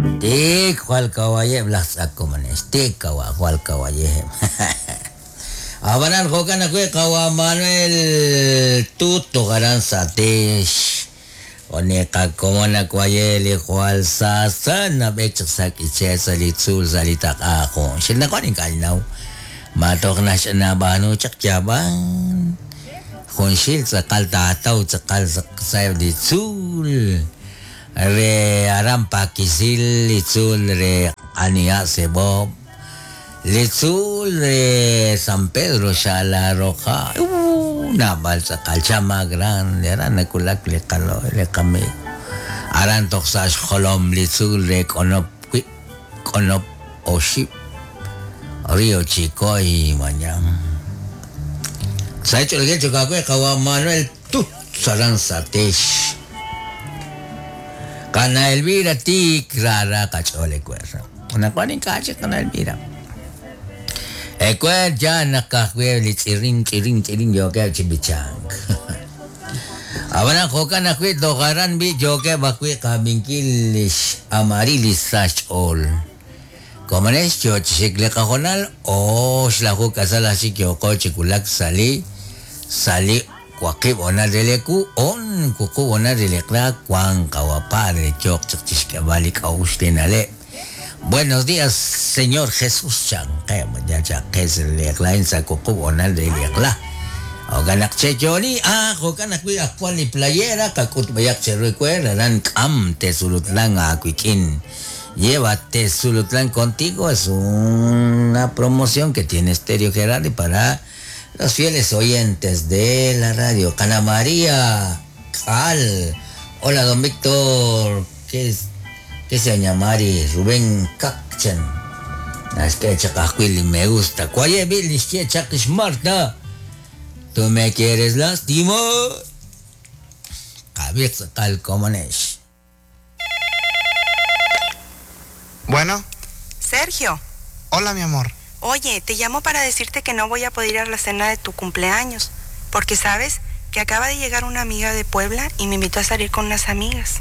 Tik jwal kawayeb' laj tz'ak komonex, tik kawa jwal kawayeb'. Ab'anan jo'kan ajwi' qawa' Manuel Tut toj aran Satex. Oni qakomon nawaye li jwal saasa nab'eek chaq sa' k'iche' sa' li tzuul sa' li taq'a jun. Xinaqwan ink'a' ninnaw ma toj naxch'anab'aanu chaq yaab'an. Junxil tz'aqal taataw tz'aqal sa'eb' li tzuul re aran Paquisil, li tzuul re Q'aniha' Sebob', li tzuul re San Pedro Xala Roja, naab'al tz'aqal Chama Grande, aran nawulak li qalo li qamiiw. Aran toj sa' xjolom li tzuul re K'onop wib', K'onop oxib', Río Chicoy, mañan. Sa' ch'olge chokaawe qawa' Manuel Tut aran Satex. Qana Elvira tik rara qach'ool ewer. Anaqwan ink'a' chik qana Elvira. Ewer ya naq ka'ajwi' li tz'irin tz'irin tz'irin yookeb' chi b'ichank. Ab'anan jo'kan ajwi' toj aran b'i' yookeb' ajwi' qab'inkil lix Amarilis sa' xch'ool. Komonex yo chi xik li qahoonal oxlaju k'asal aj chik yooqo chi wulak sa' li sa' li waqib' honal re li ewu on wuqub' honal re li eq'la wank qawa' padre yooq chaq chi xk'eeb'al li k'a'uxl li na'leb'. Buenos días Señor Jesús chanqeb' ya chaq qe sa' li eq'la a'in sa' wuqub' honal re li eq'la. Jo'kan naq cheyooli ah jo'kan ajwi' aj wan li playera qak'utb'eyaq cheru ewer aran k'am Tesulutlan aawik'in. Lleva Tesulutlán contigo es una promoción que tiene Estéreo Gerardi para los fieles oyentes de la radio. Cana María Cal. Hola, don Víctor. ¿Qué es? ¿Qué se llama Rubén Kakchen. Es que chakajwili me gusta. ¿Cuál es Marta? Tú me quieres lastimar. Qab'iq tz'aqal komonex. Bueno. Sergio. Hola, mi amor. Oye, te llamo para decirte que no voy a poder ir a la cena de tu cumpleaños, porque sabes que acaba de llegar una amiga de Puebla y me invitó a salir con unas amigas.